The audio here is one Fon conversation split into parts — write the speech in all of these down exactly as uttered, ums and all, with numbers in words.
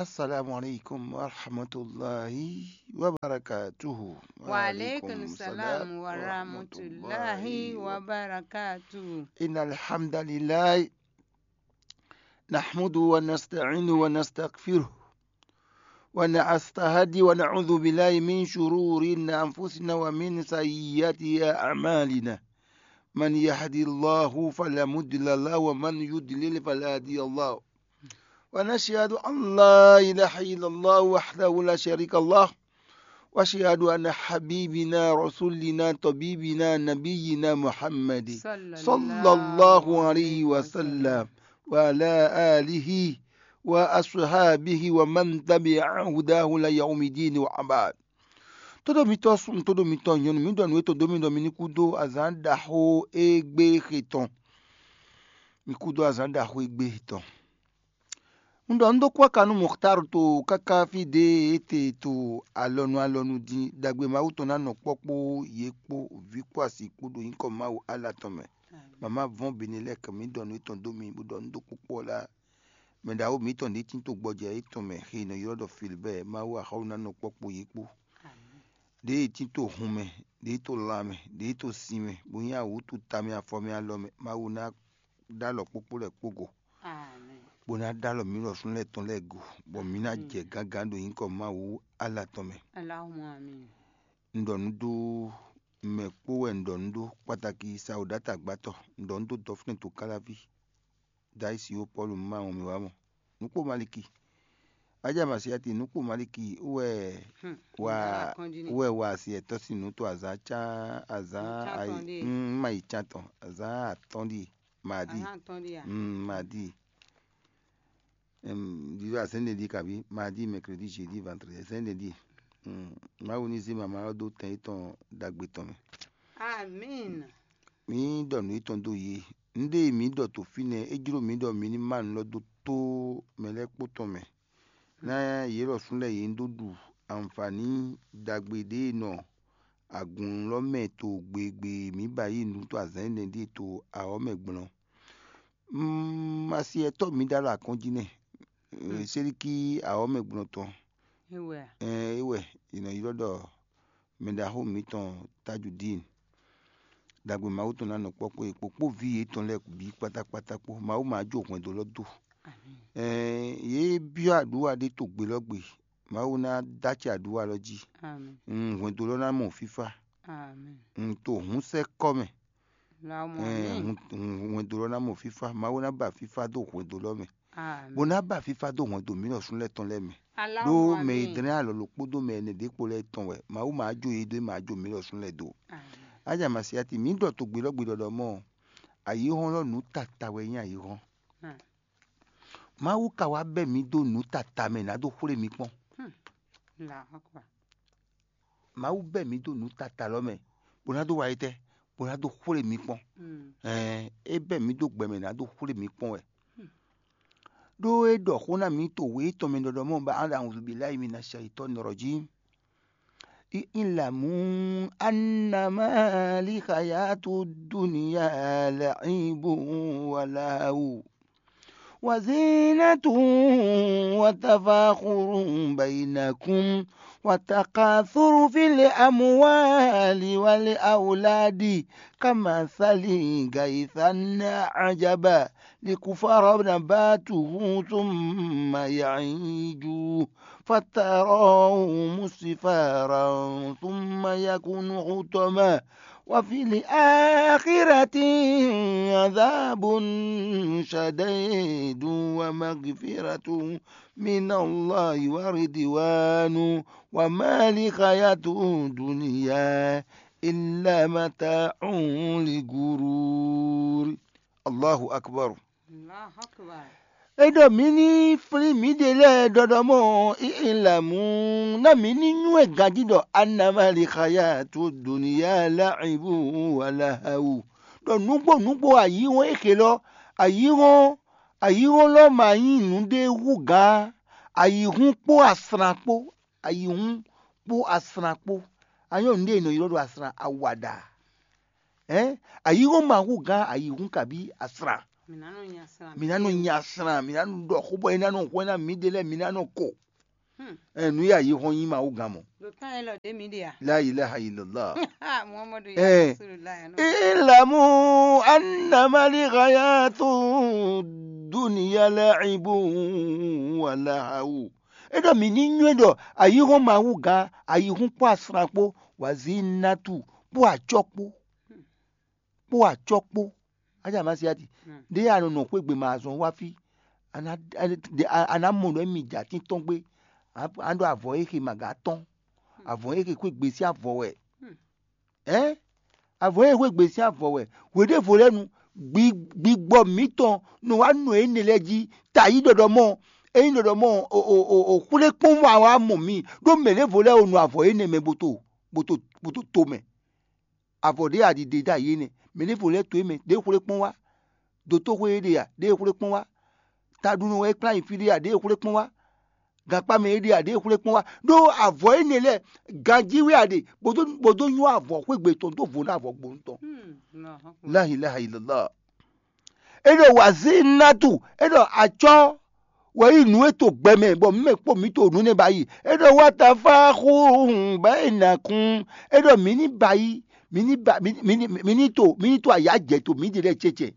السلام عليكم ورحمة الله وبركاته. وعليكم السلام ورحمة الله وبركاته. إن الحمد لله نحمده ونستعينه ونستغفره ونستهدي ونعوذ بالله من شرور أنفسنا ومن سيئات أعمالنا. من يهد الله فلا مضل له ومن يضلل فلا هادي له. ونشهد أن لا إله إلا الله وحده لا شريك له. وأشهد أن حبيبنا رسولنا طبيبنا نبينا محمد صلى الله عليه وسلم وعلى آله وأصحابه ومن تبع هداه إلى يوم الدين وبعد. Tódó mitɔ́ súnnu, tódó mitɔ́ nyɔ̌nu, mǐ ɖɔ nǔ e tɔn dó mì ɖɔ mi ní kú dó azǎn ɖaxó e gbé xe tɔn. Mi kú dó azǎn ɖaxó e gbé xe tɔn. Un ɖɔ un dó kú aka nú Muxtar to káká fí ɖě e te to alɔnu alɔnu din ɖagbe Mawu tɔn ná nɔ kpɔ́ kpó yě kpó vǐ kpó asi kpó ɖo nyǐkɔ Mawu Allah tɔn mɛ. Mama vɔn Benelɛk, mǐ ɖɔ nǔ etɔn dó mi bó ɖɔ un dó kpókpó ɔ́ lá. Mɛ ɖaxó mǐtɔn ɖě tín to gbɔjɛ́ étɔn mɛ xe nɔ ylɔ́ ɖɔ Filibɛ́ɛ, Mawu axɔ́ ná nɔ kpɔ́ kpó yě kpó. Ɖěe tín to hun mɛ, ɖěe to lan mɛ, ɖěe to sin mɛ, bó nyí awǔtu tamɛ afɔ mɛ alɔ mɛ, Mawu ná ɖó alɔ kpókpó lɛ́ɛ kpó go, bó ná ɖó alɔ mǐ lɔsún lɛ́ɛ tɔn lɛ́ɛ go, bɔ mǐ ná jɛ gǎngǎn ɖo nyǐkɔ Mawu Allah tɔn mɛ. Allahumma amin. Un ɖɔ nǔ dó mɛ kpó wɛ un ɖɔ nǔ ɖó, kpataki sawǔɖátɔ́ agbátɔ, un ɖɔ nǔ dó dɔfínɛ to káláví. Dayisi ó Pɔ́lu má wɔn mì wá mɔ. Nǔkpó Maliki. Aja Masiati, nǔkpó Maliki wɛ wa wɛ wa asi ɛtɔ́ sín nǔ to azǎn cá azǎn ayi má yi cán tɔn azǎn atɔ́ ɖíe. Madi. Madi. Ɖiɖɔ azɛ̌n ɖe ɖi kabi madi, mɛkredi, jeudi, vandredi, azɛ̌n ɖe ɖi. Mawu ní zé mama ɔ́ dó tɛn yětɔn ɖagbe tɔn mɛ. Amin. Mǐ ɖɔ nǔ yětɔn dó yě. Nǔɖé e mǐ ɖɔ to fínɛ́, é jló mǐ ɖɔ mǐ ní má nǔ lɔ dó tó mɛ lɛ́ɛ kpó tɔn mɛ. Ná yě lɔ sú lɛ́ɛ yě ní dó ɖu anfǎní ɖagbe ɖě e nɔ agun lɔ mɛ to gbegbe mǐ ba yí nǔ to azǎn énɛ́ ɖíe to awɔ̌ mɛ gblɔ́n. Masiɛtɔ́ mǐ ɖó alɔ akɔ́njí nɛ́. Sélikí awɔ̌ mɛ gblɔ́n tɔn. É wɛ è nɔ ylɔ́ ɖɔ mɛɖaxó mǐtɔn Tajudín. Ɖagbe Mawu tɔn ná nɔ kpɔ́ kpó yě kpó kpó vǐ yětɔn lɛ́ɛ bǐ kpátákpátá kpó. Mawu ma jó hwɛndo lɔ dó. Yě byɔ́ aɖǔwa ɖé to gbe lɔ gbe. Mawu ná dó acɛ aɖǔwa lɔ jí. Hwɛndo lɔ ná mɔ fífá. To hǔnsɛ́ kɔ́ mɛ. Hwɛndo lɔ ná mɔ fífá. Mawu ná ba fífá dó hwɛndo lɔ mɛ. Bó ná ba fífá dó hwɛndo mǐ lɔ súnlɛ́ tɔn lɛ́ɛ mɛ. Ɖó mɛ e dlɛ́n alɔ lɔ kpódó mɛ ɛnɛ ɖě kpó lɛ́ɛ tɔn wɛ. Mawu ma jó yě dó, ma jó mǐ lɔ súnlɛ́ dó. Aja Masiati, mǐ ɖɔ to gbe lɔ gbe ɖɔɖɔ mɔ, ayǐhɔ́n lɔ nǔ tata wɛ nyí ayǐhɔ́n. Mawu ka wá bɛ́ mǐ dó nǔ tata mɛ ná dó xwlé mi kpɔ́n. Mawu bɛ́ mǐ dó nǔ tata lɔ mɛ, bó ná dó wa yi tɛ́, bó ná dó xwlé mi kpɔ́n. Ɛɛ, é bɛ́ mǐ dó gbɛ mɛ ná dó xwlé mi kpɔ́n wɛ. Ɖó é ɖɔ xó ná mǐ to wě tɔn mɛ ɖɔɖɔ mɔ́ ba an ɖo awǔzubǐ láyi mi ná sɛ yi tɔ́ nɔrɔ jí. اعلموا أنما الحياة الدنيا لعب ولهو وزينة وتفاخر بينكم وتكاثر في الأموال والأولاد كمثل غيث أعجب الكفار نباته ثم يهيج فتراه مصفرا ثم يكون حطما وفي الآخرة عذاب شديد ومغفرة من الله ورضوان وما الحياة الدنيا إلا متاع الغرور. الله أكبر. Allahu Akbar. É ɖɔ mǐ ní flín mǐɖée lɛ́ɛ ɖɔɖɔ mɔ ihilamú ná mǐ ní nywɛ́ ganjí ɖɔ anamali xaya to doniya láìbú wala hawu. Ɖɔ nǔgbó nǔgbó ayǐhɔ́n é xe lɔ, ayǐhɔ́n ayǐhɔ́n lɔ ma nyí nǔɖé hú gǎn, ayǐhún kpó asran kpó, ayǐhún kpó asran kpó. Anyɔ́ nǔɖé è nɔ ylɔ́ ɖo asran awaɖa. Ɛ̌, ayǐhɔ́n ma hú gǎn ayǐhún kabí asran. Mǐ ná nɔ nya sran. Mǐ ná nɔ nya sran, mǐ ná nɔ ɖɔ xó bɔ é ná nɔ hwɛ ná mǐɖée lɛ́ɛ, mǐ ná nɔ ko. Ɛ nǔ ya yi hɔn nyí Mawu gán mɔ. Ɖo tán e lɔ ɖě mǐ ɖe a? La ilaha illallah. Muhammadu ya Ɛ. Rasulullah ya nɔ. Ilamu annama li hayatu dunya la'ibun wa lahawu. É ɖɔ mǐ ní nywɛ́ ɖɔ ayihɔn Mawu gán, ayihún kpó asran kpó, wazínátù kpó acɔ́ kpó, kpó acɔ́ kpó. Aja Masiati. Ɖé a nɔ nɔ xwé gbe ma azɔn wá fí. A ná a ná mɔ nɔ émi jɛ atín tɔn gbé. A ɖo avɔ e xe ma gǎ tɔn. Avɔ e xe xwé gbe sín avɔ wɛ. Ɛ̌? Avɔ e xwé gbe sín avɔ wɛ. Hweɖěvo lɛ́ɛ nu, gbigbɔ mǐtɔn nɔ wá nɔ énɛ́ lɛ́ɛ jí. Ta yí ɖɔɖɔ mɔ, ényí ɖɔɖɔ mɔ o xwlé kpɔ́n wá wá mɔ mǐ, ɖó mɛ ɖěvo lɛ́ɛ o nɔ avɔ énɛ́ mɛ bó to bó to bó to to mɛ. Avɔ ɖě a ɖi ɖe dó ayǐ énɛ́. Mɛ ɖěvo lɛ́ɛ to é mɛ, ɖě xwlé kpɔ́n wá. Dotóxwé é ɖe a, ɖě xwlé kpɔ́n wá. Taɖunɔ wɛ é kplá nyi fí ɖé a, ɖě xwlé kpɔ́n wá. Gankpá mɛ é ɖe a, ɖě xwlé kpɔ́n wá. Ɖó avɔ énɛ́ lɛ́ɛ, ganjí wɛ a ɖe, bó dó bó dó nywɛ́ avɔ xwé gbe tɔn dó vo ná avɔ gbonu tɔn. La ilaha illallah. É ɖɔ wazínátù, é ɖɔ acɔ́ wɛ nyí nǔ e to gbɛ mɛ, bɔ mǐ mɛ kpó mǐ to nǔ nɛ́ ba yi. É ɖɔ wá ta fá xúhun bá yi nà kún. É ɖɔ mǐ ní ba yi, mǐ ní ba mǐ ní mǐ ní mǐ ní to mǐ ní to ayǎ jɛ to mǐ ɖe lɛ́ɛ cɛcɛ.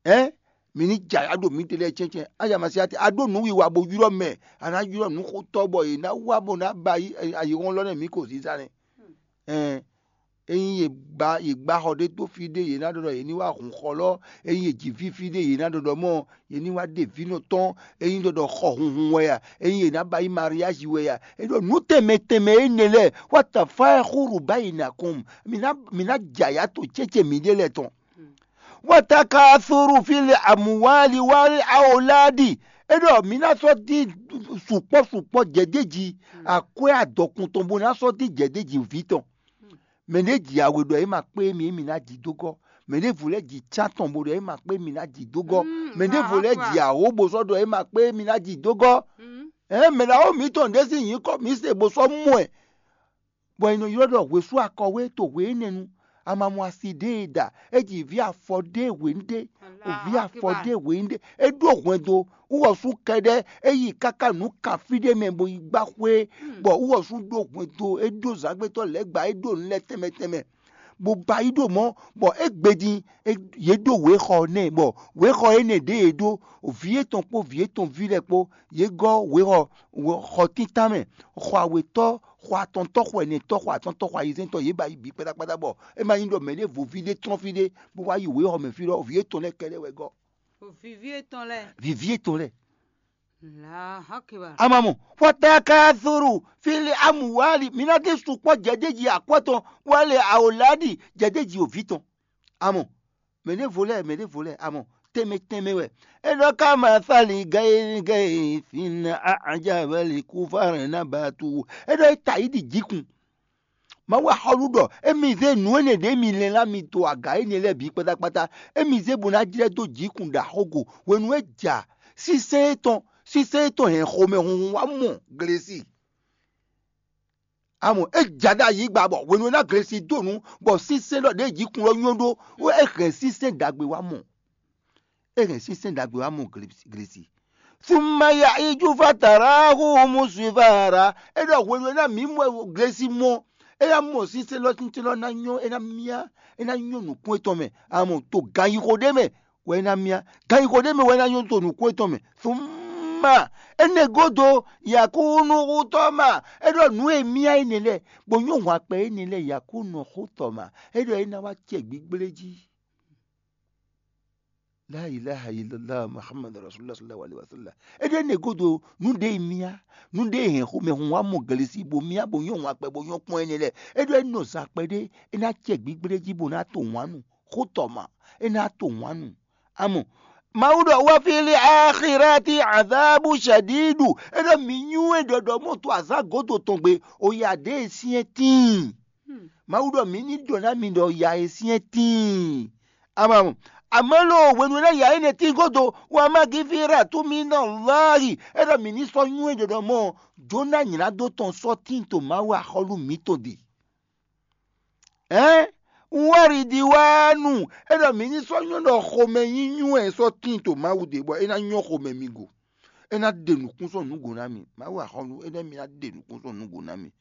Ɛ̌ mǐ ní jɛ ayǎ ɖo mǐ ɖe lɛ́ɛ cɛcɛ. Aja Masiati, a ɖó nǔwiwa bó ylɔ́ mɛ, a ná ylɔ́ nǔxotɔ́ bɔ yě ná wá bó ná ba yi ayǐhɔ́n lɔ nɛ́ mǐ ko zízá nɛ́. Ɛn ényí yě gbá yě gbá xɔ ɖé dó fí ɖé, yě ná ɖɔ ɖɔ yě ní wá hun xɔ lɔ. Ényí yě ji fí fí ɖé, yě ná ɖɔ ɖɔ mɔ yě ní wá ɖe vǐ nɔ tɔn. Ényí ɖɔ ɖɔ xɔ hunhun wɛ a, ényí yě ná ba yí mariázi wɛ a, é ɖɔ nǔ tɛnmɛ tɛnmɛ énɛ́ lɛ́ɛ wá ta fá xúru bá yi nà kɔn. Mǐ ná mǐ ná jɛ ayǎ to cɛ́cɛ mǐɖée lɛ́ɛ tɔn. Wá ta ka suru fí le amúwáli wá awolá ɖi. É ɖɔ mǐ ná sɔ́ dín sukpɔ́ sukpɔ́ jɛ̌déji akwɛ́ adɔkun tɔn bó ná sɔ́ dín jɛ̌déji vǐ tɔn. Mɛ ɖé ji awe ɖɔ é ma kpé émí émí ná ji dó gɔ́. Mɛ ɖěvo lɛ́ɛ ji cán tɔn bó ɖɔ é ma kpé émí ná ji dó gɔ́. Mɛ ɖěvo lɛ́ɛ ji awǒ bó sɔ́ ɖɔ é ma kpé émí ná ji dó gɔ́. Ɛ̌ mɛ ɖaxó mǐtɔn ɖé sín nyǐkɔ mǐ se bó sɔ́ mɔ ɛ, bɔ è nɔ ylɔ́ ɖɔ hwesú akɔwé to hwe énɛ́ nu. A ma mɔ asi ɖé e ɖa, é ji vǐ afɔ ɖé hwenu ɖé, vǐ afɔ ɖé hwenu ɖé, é ɖó hwɛndo. Wúwɔsú kɛɖɛ́ é yi káká nǔ kan fí ɖé mɛ bó yi gbá xwé, bɔ wúwɔsú ɖó hwɛndo, é ɖó zǎngbétɔ́ lɛ̌ gba, é ɖó nǔ lɛ́ɛ tɛnmɛ tɛnmɛ, bó ba yi ɖo mɔ̌, bɔ é gbe din, yě ɖó wěxɔ nɛ́, bɔ wěxɔ énɛ́ ɖě yě ɖó, vǐ yětɔn kpó vǐ yětɔn ví lɛ́ɛ kpó, yě gɔ́ wěxɔ xɔ títán mɛ, xɔ awětɔ́, xɔ atɔntɔ́, xɔ ɛnɛtɔ́, xɔ atɔ́ntɔ́, xɔ ayizɛ́ntɔ́, yě ba yi bǐ kpátákpátá, bɔ é ma nyí ɖɔ mɛ ɖěvo ví ɖé tlɔ́n fí ɖé bó wá yi wěxɔ mɛ fí ɖɔ vǐ yětɔn lɛ́ɛ kɛɖɛ́ wɛ gɔ́. Vǐví etɔn lɛ́ɛ. Vǐví etɔn lɛ́ɛ. Allahu Akbar. Amamɔ, xɔtakazuru fili amuwali, mi ná dé sukpɔ́ jɛjɛji akwɛ́ tɔn, wale awoladi jɛjɛji òví tɔn. Amɔ, mɛ ɖěvo lɛ́ɛ, mɛ ɖěvo lɛ́ɛ, amɔ, tɛnmɛ tɛnmɛ wɛ. É ɖɔ ká ma sali gɛ́ gɛ́ fin ajabali kú fárɛn ná ba tu. É ɖɔ é ta yi ɖi jǐkun. Mawu axɔ́lú ɖɔ émí zé nǔ énɛ́ ɖě mi lɛ́n lá mi to aga énɛ́ lɛ́ɛ bǐ kpátákpátá. Émí zé bó ná jlɛ́ dó jǐkun ɖo axógo hwenu e ja sísɛ́n étɔn sísɛ́n étɔn hɛn xomɛhunhun wá mɔ glesi. Amɔ é ja ɖó ayǐgba bɔ hwenu e ná glesi dó nǔ bɔ sísɛ́n ɖɔ ɖěe jǐkun ɔ́ nyɔ́ ɖó é hɛn sísɛ́n ɖagbe wá mɔ. É hɛn sínsɛ́n ɖagbe wá mɔ glesi. Sumaya ijú fatara hu musifara. É ɖɔ hwenu e ná mǐ mɔ glesi mɔ, é ná mɔ sínsɛ́n lɔ tíntín lɔ ná nyɔ́, é ná myá, é ná nyɔ́ nǔkún étɔn mɛ. Amɔ to ganyixo ɖé mɛ wɛ é ná myá. Ganyixo ɖé mɛ wɛ é ná nyɔ́ to nǔkún étɔn mɛ. Suma énɛ́ gúdo yakúnúhútɔ́ ma. É ɖɔ nǔ e myá énɛ́ lɛ́ɛ, bó nyɔ́ hwan kpɛ énɛ́ lɛ́ɛ yakúnúhútɔ́ ma. É ɖɔ é ná wá cɛ gbígblé jí. La ilaha illallah Muhammad Rasulullah sallallahu alaihi wasallam. É ɖɔ énɛ́ gúdo nǔ ɖé e myá, nǔ ɖé e hɛn xomɛhun wá mɔ glesi bó myá bó nyɔ́ hwan kpɛ bó nyɔ́ kpɔ́n énɛ́ lɛ́ɛ. É ɖɔ é nɔ zan kpɛɖé, é ná cɛ gbígblé jí bó ná to wǎn nu. Xótɔma, é ná to wǎn nu. Amɔ Mawu ɖɔ wá fili axirati azabu shadidu. É ɖɔ mǐ nywɛ́ ɖɔɖɔ mɔ to azǎn gǒdo tɔn gbe, o ya ɖě e syɛ́n tíin. Mawu ɖɔ mǐ ní ɖɔ ná mi ɖɔ ya e syɛ́n tíin. Amamɔ. Amalo hwenu e ná ya énɛ́ tín gúdo, wa ma gifira tú mi nɔ lɔ́ɔ́yi. É ɖɔ mǐ ní sɔ́ nywɛ́ ɖɔɖɔ mɔ Jona nylá dó tɔn sɔ́ tíin to Mawu axɔ́lú mǐtɔn ɖe. Ɛ̌ Waridiwanu, é ɖɔ mǐ ní sɔ́ nyɔ́ ɖɔ xomɛ nyí nyú wɛ è sɔ́ tíin to Mawu ɖe bɔ é ná nyɔ́ xomɛ mi go. É ná ɖe nǔkún sɔ́ nǔ go ná mi. Mawu axɔ́nú, é ɖɔ mǐ ná ɖe nǔkún sɔ́ nǔ go ná mi.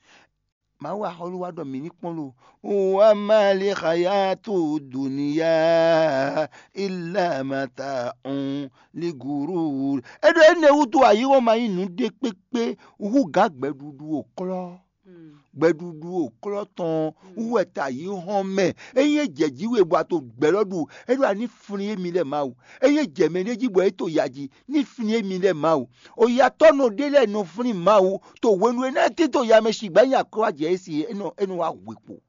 Mawu axɔ́nú wá ɖɔ mǐ ní kpɔ́n lo. Wa ma li xayatu dunya illa mata'un li gurur. É ɖɔ énɛ́ wútu ayǐ ɔ́ ma nyí nǔ ɖé kpékpé hú gǎn gbɛɖuɖu ò klɔ́. Gbɛɖuɖu ò klɔ́ tɔn wú wɛ ta yí hɔn mɛ. Ényí é jɛ jǐ we bɔ a to gbɛ̌ lɔ ɖu, é ɖo a ní flín émi lɛ́ɛ Mawu. Ényí é jɛ mɛ ɖé jí bɔ é to ya jí, ní flín émi lɛ́ɛ Mawu. Oyatɔ́ nɔ ɖé lɛ́ɛ nɔ flín Mawu to hwenu e ná é tito ya mɛ sigbǎ nyi akwɛ́ wá jɛ é si é nɔ é nɔ wá hwe kpo.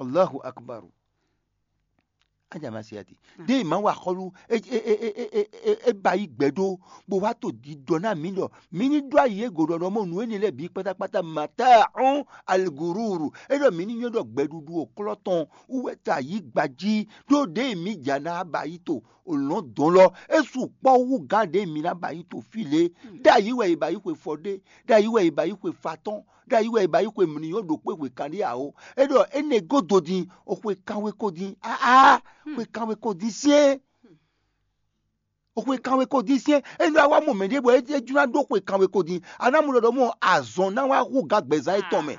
Allahu akbar. Aja ma se ati. Ɖé ma wa xɔlu e e e e e e e ba yi gbɛ ɖo bó wá to ɖiɖɔ ná mǐ ɖɔ mǐ ní ɖó ayi e go ɖɔ ɖɔ mɔ nǔ énɛ́ lɛ́ɛ bǐ kpátákpátá mata ɔn aligururu. É ɖɔ mǐ ní nyɔ́ ɖɔ gbɛɖuɖu ò klɔ́ tɔn wú wɛ ta yí gba jí ɖó ɖě mǐ ja ná ba yi to olɔ̌n dɔn lɔ. É su kpɔ́ wú gán ɖě mǐ ná ba yi to fí lě. Ɖ'ayǐ wɛ è ba yi xwe fɔ ɖé, ɖ'ayǐ wɛ è ba yi xwe fa tɔn, ɖ'ayǐ wɛ è ba yi xwe mǐ ní nyɔ́ ɖo kpé hwe kanɖé ǎ ó. É ɖɔ énɛ́ gó do din, o xwe kanwe ko din. Aa, xwe kanwe ko din syɛ́n. O xwe kanwe ko din syɛ́n. Énɛ́ wá wá mɔ mɛ ɖé bɔ é jló ná ɖó xwe kanwe ko din. A ná mɔ ɖɔ ɖɔ mɔ azɔn ná wá hu gǎn gbɛzán étɔn mɛ.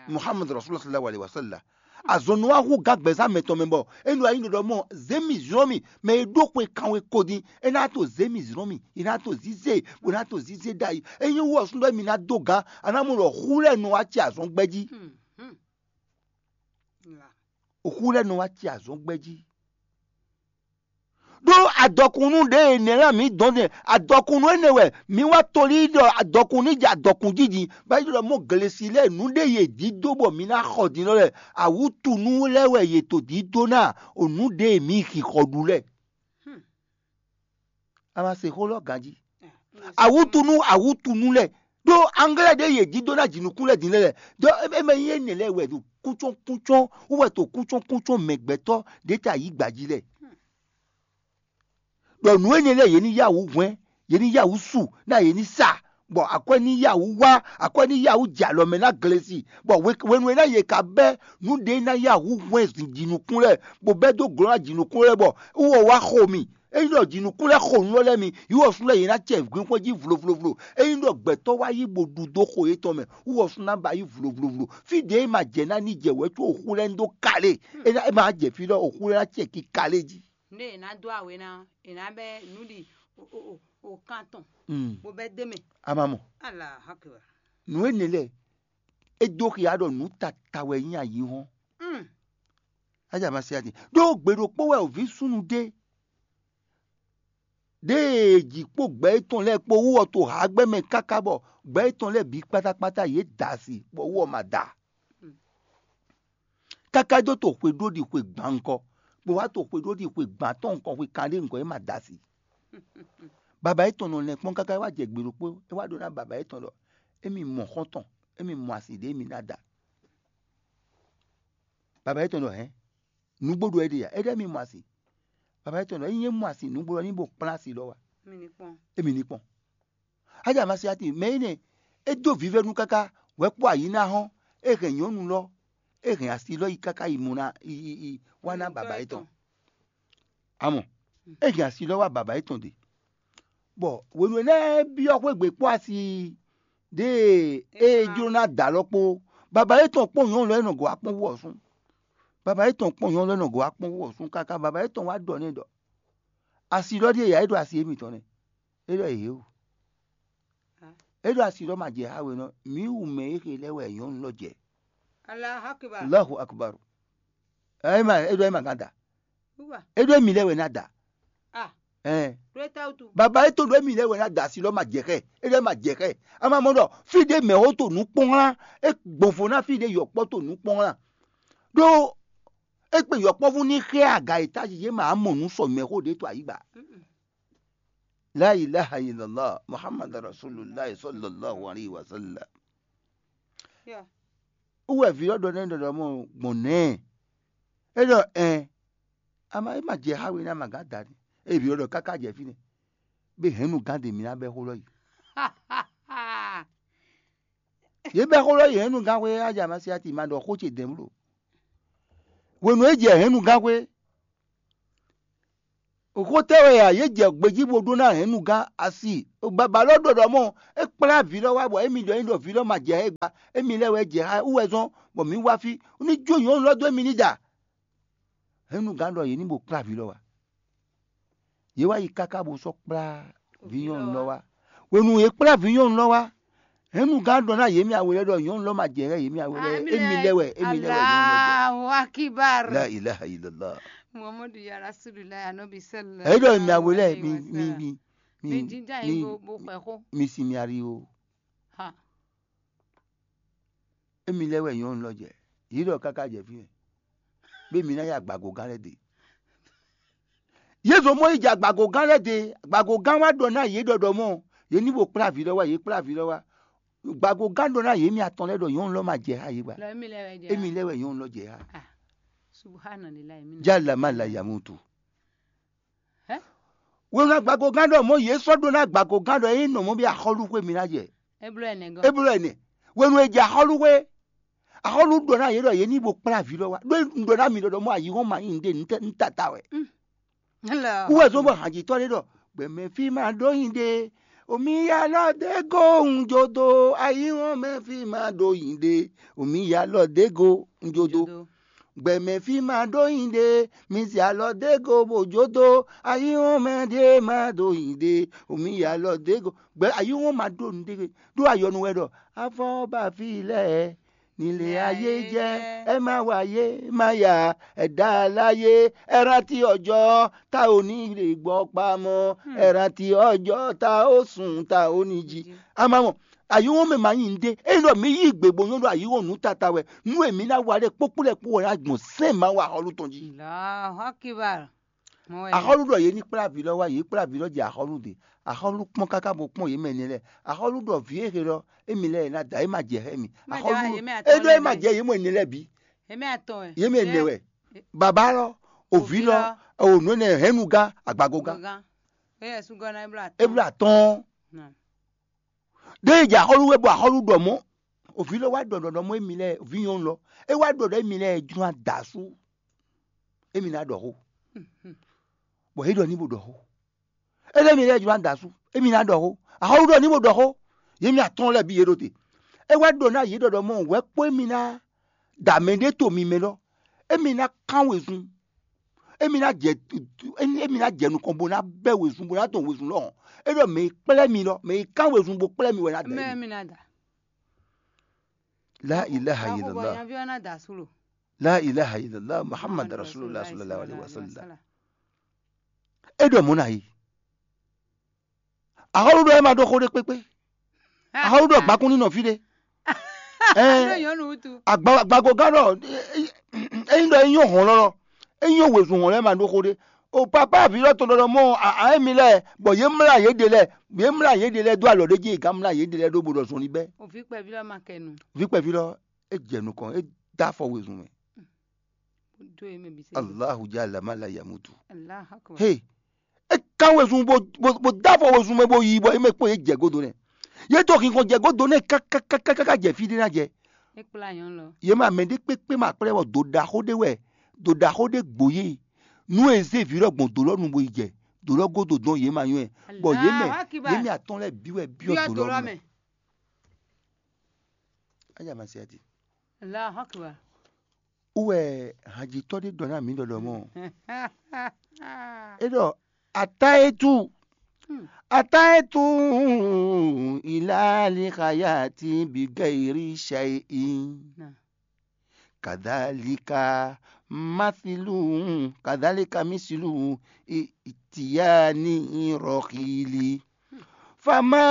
Muhammad Rasulullah sallallahu alaihi wasallam. Azɔn nɔ wá hu gǎn gbɛzán mɛtɔn mɛ bɔ é nɔ wá nyí ɖɔ ɖɔ mɔ zě mì zlɔ́n mì mɛ e ɖó xwe kanwe ko din. É ná to zě mì zlɔ́n mì, é ná to zízé, bó ná to zízé ɖ'ayǐ. É nyí wú ɔ́ súnnu wɛ mi ná dó gǎn, a ná mɔ ɖɔ xú lɛ́ɛ nɔ wá ci azɔn gbɛ́ jí. Xú lɛ́ɛ nɔ wá ci azɔn gbɛ́ jí. Ɖó adɔkunnú ɖě e nɛ̌ ná mǐ dɔn din, adɔkunnú énɛ́ wɛ mǐ wá tolí ɖɔ adɔkunnú jɛ adɔkun jí din, bɔ é ɖɔ mɔ glesi lɛ́ɛ nǔ ɖé yě dídó bɔ mǐ ná xɔ din lɔ lɛ́ɛ. Awǔtunú lɛ́ɛ wɛ yě to dídó ná o nǔ ɖě e mǐ xixɔ ɖu lɛ́ɛ. A ma se xó lɔ ganjí. Awútunú awútunú lɛ́ɛ ɖó anglɛ́ ɖé yě dídó ná jǐnukún lɛ́ɛ din lɛ́ɛ lɛ́ɛ. Ɖó é mɛ nyí énɛ́ lɛ́ɛ wɛ ɖo kúntsɔ́n kúntsɔ́n wú wɛ to kúntsɔ́n kúntsɔ́n mɛ gbɛtɔ́ ɖě ta yǐ gbǎ jí lɛ́ɛ. Ɖɔ nǔ énɛ́ lɛ́ɛ yě ní yá wǔ hwɛ́n, yě ní yá wǔ su, ná yě ní sa, bɔ akwɛ́ ní yá wǔ wá, akwɛ́ ní yá wǔ jɛ alɔ mɛ ná glesi, bɔ hwenu e ná yě ka bɛ́ nǔ ɖě ná yá wǔ hwɛ́n jǐnukún lɛ́ɛ, bó bɛ́ dó glɔ́ ná jǐnukún lɛ́ɛ, bɔ wú ɔ́ wá xo mì. Ényí ɖɔ jǐnukún lɛ́ɛ xo nǔ lɔ lɛ́ɛ mi, yǐ wɔ sú lɛ́ɛ yě ná cɛ gbinxɔ́n jí vlovlovlo. Ényí ɖɔ gbɛtɔ́ wá yí bó ɖu dó xo yětɔn mɛ, wú wɔ sú ná ba yí vlovlovlo. Fí ɖě e ma jɛ ná ní jɛ wɛ̌ có oxú lɛ́ɛ ní dó kalé. É ná é ma jɛ fí ɖɔ oxú lɛ́ɛ ná cɛ ki kalé jí. Nú è nǎ dó awe ná, è nǎ bɛ́ nǔ ɖi o o o o kan tɔn, Mm. bó bɛ́ dó mɛ. A ma mɔ. Ala hakɛ. Nǔ énɛ́ lɛ́ɛ, é dó xia ɖɔ nǔ tata wɛ nyí ayǐhɔ́n. Mm. Ájà ma se ati. Ɖó gbe ɖokpó wɛ òví súnnu ɖé. Ɖěe jǐ kpó gbɛ̌ étɔn lɛ́ɛ kpó wú ɔ́ to hǎgbɛ́ mɛ káká bɔ gbɛ̌ étɔn lɛ́ɛ bǐ kpátákpátá yě da asi, bɔ wú ɔ́ ma da. Káká dó to xwe ɖó ɖi xwe gban ŋkɔ, bó wá to xwe ɖó ɖi xwe gban tɔn ŋkɔ, xwe kanɖé ŋkɔ é ma da asi. Baba étɔn nɔ lɛn kpɔ́n káká é wá jɛ gbe ɖokpó, é wá ɖɔ ná baba étɔn ɖɔ émi mɔ xɔ́ntɔn, émi mɔ asi ɖě émi ná da. Baba étɔn ɖɔ hɛn, nǔgbó ɖo é ɖe ya, é ɖɔ émi mɔ asi. Baba étɔn ɖɔ ényí é mɔ asi nǔgbó ɔ́ ní bo kplán asi lɔ wá. Mi ní kpɔn. Émi ní kpɔn. Ájà ma se ati mɛ énɛ́, é dó vívɛ́nu káká, wɛ̌ kpó ayǐ ná hɔ́n, é hɛn nyɔ̌nu lɔ, é hɛn asi lɔ yi káká yi mɔ ná yi yi yi wá ná baba étɔn. Amɔ, é hɛn asi lɔ wá baba étɔn ɖe. Bɔ hwenu e ná byɔ́ xwé gbe kpó asi ɖée é jló ná da lɔ kpó, baba étɔn kpɔ́n nyɔ̌nu lɔ é nɔ gɔ̌ wá kpɔ́n wú ɔ́ sún. Baba étɔn kpɔ́n nyɔ̌nu lɔ é nɔ gɔ̌ wá kpɔ́n wú ɔ́ sún káká baba étɔn wá ɖɔ n'i ɖɔ asi lɔ ɖíe ya é ɖo asi émítɔn nɛ́. É ɖɔ yě o. É ɖɔ asi lɔ ma jɛ ha we nɔ, mǐ wu mɛ e xe lɛ́ɛ wɛ nyɔ̌nu lɔ jɛ. Allahu akbar. Allahu akbar. Ɛ ma é ɖɔ é ma gán da. Wúwa. É ɖɔ émi lɛ́ɛ wɛ ná da. Ah, Ɛn. Ɖó é tá wútu. Baba é to ɖɔ émi lɛ́ɛ wɛ ná da asi lɔ ma jɛ xɛ. É ɖɔ é ma jɛ xɛ. A ma mɔ ɖɔ fí ɖé mɛ wo to nǔ kpɔ́n wlán, é gbɔn vo ná fí ɖé yɔkpɔ́ to nǔ kpɔ́n wlán. Ɖó é kpe yɔkpɔ́vú ní xɛ aga e tájí yě ma mɔ nǔ sɔ mɛ xó ɖé to ayǐgba. La ilaha illallah Muhammad Rasulullah sallallahu alaihi wasallam. Yeah. Wú wɛ vǐ ɔ́ ɖɔ nɛ́ ɖɔ ɖɔ mɔ gbɔn nɛ́. É ɖɔ ɛn. Ama é ma jɛ xá we ní ama gán da ní. É vǐ ɔ́ ɖɔ káká jɛ fínɛ́. Bé hɛ̌nnu gán ɖe mǐ ná bɛ́ xó lɔ yi. Yě bɛ́ xó lɔ yi hɛ̌nnu gán xwé á jɛ ama sí ati ma ɖɔ xó ce dɛ̌n bló. Hwenu e jɛ hɛ̌nnugán xwé, xó tɛ́ wɛ a yě jɛ gbejí bó ɖó ná hɛ̌nnugán asi? Baba lɔ ɖɔ ɖɔ mɔ é kplá vǐ lɔ wá bɔ émí ɖɔ é ɖɔ vǐ lɔ ma jɛ xá gba, émí lɛ́ wɛ jɛ xá wú wɛ zɔ́n bɔ mǐ wá fí, ní jó nyɔ̌nu lɔ dó émí ní da. Hɛ̌nnugán ɖɔ yě ní bo kplá vǐ lɔ wá. Yě wá yi káká bó sɔ́ kplá vǐ nyɔ̌nu lɔ wá. Hwenu yě kplá vǐ nyɔ̌nu lɔ wá, hɛ̌nnugán ɖɔ ná yě mɛ awe lɛ́ɛ ɖɔ nyɔ̌nu lɔ ma jɛ xá yě mɛ awe lɛ́ɛ, émí lɛ́ wɛ, émí lɛ́ wɛ nyɔ̌nu lɔ jɛ. Allahu Akbar. La ilaha illallah. Muhammadu ya Rasulullah, Anabi sallallahu Èyí ɖɔ èmi awe lɛ́ɛ, alaihi mi wasallam. mi mi Mi jínjà yín bó bó xwɛ xó. Mi sinmi ari o. Ha. Émi lɛ́ɛ wɛ nyɔ̌nu lɔ jɛ. Yě ɖɔ káká jɛ fí mɛ. Bé mi ná yá agbagogán lɛ́ɛ ɖe. Yě zɔn mɔ yi jɛ agbagogán lɛ́ɛ ɖe. Agbagogán wá ɖɔ ná yě ɖɔɖɔ mɔ. Yě ní bo kplá vǐ lɔ wá, yě kplá vǐ lɔ wá. Agbagogán ɖɔ ná yě mi atɔn lɛ́ɛ ɖɔ nyɔ̌nu lɔ ma jɛ xá yě gba. Lɔ émi lɛ wɛ jɛ. Émi lɛ́ɛ wɛ nyɔ̌nu lɔ jɛ xá. Ah, subhanallah, émi. Jala ma la yamutu. Hɛ? Wéwá agbagogán ɖɔ mɔ yě sɔ́ ɖó ná agbagogán ɖɔ é nɔ mɔ bí axɔ́lúxwé mi ná jɛ. Eblo ɛnɛ gɔ. Eblo ɛnɛ. Wenu e jɛ axɔ́lúxwé. Axɔ́lú ɖɔ ná yě ɖɔ yě ní bo kplá vǐ lɔ wá. Ɖó un ɖɔ ná mi ɖɔ ɖɔ mɔ ayǐhɔ́n ma nyí nǔɖé, nǔ tɛ- nǔ tata wɛ. Lɔ. Wúwɛ zɔn bɔ hanjitɔ́ ɖé ɖɔ gbɛmɛ fí ma ɖó nyi ɖe. Omi ya lɔ dé go un jodo. Ayǐhɔ́n mɛ fí ma ɖó nyi ɖe. Omi ya lɔ dé go un jodo. Jodo. Gbɛmɛ fí ma ɖó nyi ɖe, mi zɛ alɔ dé go bó jó dó, ayíhɔ́n mɛ ɖé ma ɖó nyi ɖe, omi yi alɔ dé go. Gbɛ ayíhɔ́n ma ɖó nǔ ɖé, ɖó ayɔnu wɛ ɖɔ, afɔ ba fí lɛ́ɛ, nílé ayé jẹ́, ẹ má wáyé má yá, ẹ dá láyé, ẹ rántí ọjọ́ tá ò ní lè gbọ́ pamọ́, ẹ rántí ọjọ́ tá ò sùn tá ò ní jí. A máa mọ̀, ayíhɔ́n mɛ ma nyí nǔɖé. Ényí ɖɔ mǐ yí gbe bó nyɔ́ ɖɔ ayíhɔ́n nǔ tata wɛ, nú èmi ná wa ɖé kpókpó lɛ́ɛ kpó wɛ ná gbɔn sɛ́n Mawu axɔ́lú tɔn jí. Allahu Akbar. Mɔ wɛ. Axɔ́lú ɖɔ yě ní kplá vǐ lɔ wá, yě kplá vǐ lɔ jɛ axɔ́lú ɖe. Axɔ́lú kpɔ́n káká bó kpɔ́n yě mɛ nɛ́ lɛ́ɛ. Axɔ́lú ɖɔ vǐ e he lɔ, émi lɛ́ɛ ná da, é ma jɛ xá mi. Má jɛ Axɔ́lú wá, yě mɛ é atɔn ɖɔ é lɛ́ɛ ma bɛ́. jɛ yě mɔ énɛ́ lɛ́ɛ bǐ. Yě mɛ atɔn wɛ. Yě mɛ nɛ wɛ. Baba lɔ, òvǐ lɔ, ònú énɛ́ hɛ́nnugán, agbagogán. Gogán. Eye sugɔ na eblo atɔn. É bló atɔ́ɔ́n. Na. Ɖé e jɛ axɔ́lú wɛ bɔ axɔ́lú ɖɔ mɔ̌. Òvǐ lɔ wá ɖɔ ɖɔ mɔ émi lɛ́ɛ, òvǐ nyɔ̌nu lɔ. É wá ɖɔ ɖɔ émi lɛ́ɛ jló adasú. Émi ná ɖɔ xó. Bɔ é ɖɔ ní bo ɖɔ xó. É ɖɔ émi lɛ́ɛ jló adasú. Émi ná ɖɔ xó. Axɔ́lú ɖɔ ní bo ɖɔ xó. Yě mi atɔ́ɔ́n lɛ́ɛ bǐ yě ɖo te. É wá ɖɔ ná yě ɖɔ ɖɔ mɔ wɛ kpó émi ná da mɛ ɖé to mi mɛ lɔ. Émi ná kán wezun. Émi ná jɛ émi ná jɛ nukɔn bó ná bɛ́ wezun bó ná dɔn wezun lɔ hɔn. É ɖɔ mɛ yi kplɛ́ mi lɔ, mɛ yi kán wezun bó kplɛ́ mi wɛ ná da Mɛ émi. mi na da. La ilaha Awo bɔ illallah. Nyavi ɔ́ na da asú lo. La ilaha illallah Muhammad Rasulullah sallallahu alaihi wasallam. É ɖɔ mɔ̌ ná yi. Axɔ́lú ɖɔ é ma ɖó xó ɖé kpékpé. Axɔ́lú ɖɔ gbakún ní nɔ fí ɖé. Alo nyɔnu wutu. Agbagogán ɖɔ ényí ɖɔ é nyɔ́ hɔn lɔlɔ, é nyɔ́ wezun hɔn lɛ́ɛ ma ɖó xó ɖé. O papa vǐ lɔ tɔn ɖɔ mɔ a émi lɛ́ɛ bɔ yě mlá yě ɖe lɛ́ɛ, yě mlá yě ɖe lɛ́ɛ dó alɔ ɖé jí, yě gán mlá yě ɖe lɛ́ɛ ɖó bo ɖɔ zɔn ní bɛ́. Òfin kpɛví lɔ ma kɛ nu. Vǐ kpɛví lɔ é jɛ nukɔn, é dó afɔ wezun mɛ. Do ye mɛ bi se. Allahu jalla ma la yamutu. Allahu akbar. He, é kán wezun bó bó bó dó afɔ wezun mɛ bó yi bɔ é mɛ kpó yě jɛ godo nɛ. Yě to hinkɔn jɛ godo nɛ kákákákáká jɛ fí ɖé ná jɛ. E kpla nyɔnu lɔ. Yě ma mɛ ɖé kpékpé ma kplɛ́ wɔ dǒ ɖaxó ɖé wɛ, dǒ ɖaxó ɖé gbǒ yé. Nú e zé vǐ lɔ gbɔn dǒ lɔ nu bo yi jɛ, dǒ lɔ godo dɔn yě ma nyɔ́ ɛ. Bɔ yě mɛ Allahu akbar. Yě mɛ atɔn lɛ́ɛ bǐ wɛ byɔ́ Byɔ́ dǒ dǒ lɔ lɔ mɛ. Mɛ. Aya ma se ati. Allahu akbar. Wú wɛ hanjitɔ́ ɖé ɖɔ ná mǐ ɖɔɖɔ mɔ. É ɖɔ atá é tú. Atá é tú ìlàlí xayati bí gẹ́rí ṣe é. Náà. Kadhalika masilu, kadhalika misilu itiyani rọkili. Fama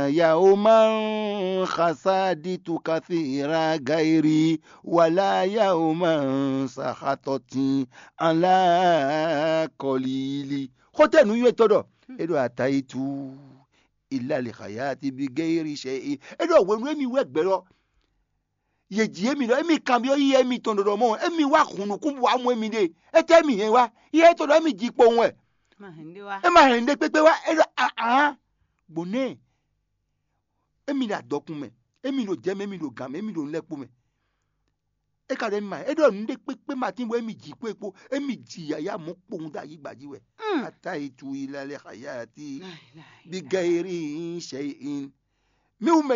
yawman khasaditu kathira gairi wala yawman sahatoti ala kọlili. Xótɛ nǔnywɛ́tɔ́ ɖɔ é ɖo atayitu ilali xayati bi geyiri sɛ é ɖɔ hwenu émi wɛ gbɛ lɔ. Yě jí émi ɖɔ émi kanbyɔ́ yíyá émitɔn ɖɔɖɔ mɔ émi wá hun nukún bɔ amú émi ɖe. Étɛ́ émi hɛn wá? Yíyá étɔn ɖɔ émi ji kpowun wɛ. Ma hɛn ɖé wá. É ma hɛn ɖé kpékpé wá. É ɖɔ ahán gbɔn nɛ. Émi ɖo adɔkun mɛ, émi ɖo jɛ mɛ, émi ɖo gǎn mɛ, émi ɖo nulɛ́kpo mɛ. É ka ɖɔ émí ma, é ɖɔ nǔɖé kpékpé ma tín bɔ émí jǐ kpó é kpó, émí ji yǎyá mɔ̌ kpowun dó ayǐgba jí wɛ. Ata itu ila lɛ xayati bi gayiri shay'in. Mi wú mɛ